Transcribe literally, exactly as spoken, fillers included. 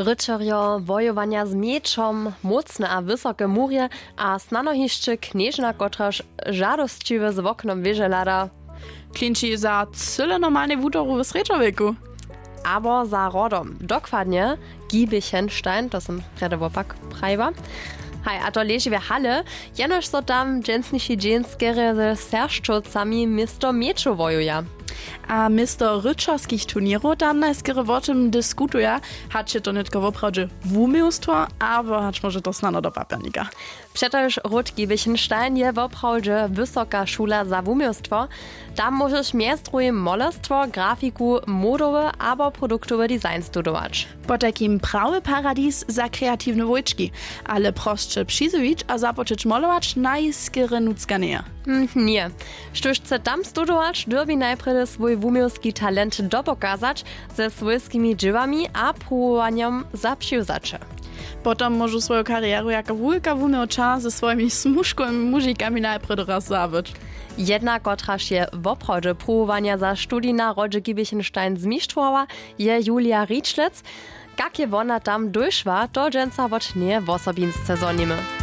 Ryćerjo wojowanja z mječom, mócne a wysoke murje, a snano hišće knježna, kotraž žadosćiwy z woknom wěže hlada. Klinči za cyle normalnej wutoru w srjedźowjeku. Abo za rodom dokładnje, Gibichenstein, to sym prjedy wopak prajiła. Haj, a to leži w hale. Jenož so tam dźensniši dźeń skerje ze sersčowcami město mječow wojuja. A město ryćerskich turněrow tam najskerje wo tym diskutuja, hač je to nětko woprawdźe wuměłstwo, abo hač móže to snano do papjernika. Přetož ród Gibichenstein je woprawdźe wysoka šula za wuměłstwo. Tam móžeš mjez druhim molerstwo, grafiku, modowy abo produktowy design studować. Potajkim prawy paradis za kreatiwne wójčki. Ale prosće přizjewić a započeć molować najskerje nutřka njeje. Hm, ně. Štóž chce tam studować, dyrbi najprjedy swój wuměłski talent dopokazać ze swójskimi dźěłami a pruwowanjom za přiwzaće. Potom móžu swoju karjeru jako wulka wuměłča ze swojimi smužkowymi mužikami najprjedy raz zabyć. Jedna, kotraž je woprawdźe pruwowanja za studij na rodźe Gibichenstein zmištrowała, je Julia Rietschlitz. Kak je wona tam dóšła, to dźensa wot njeje wosobinsce zhonimy.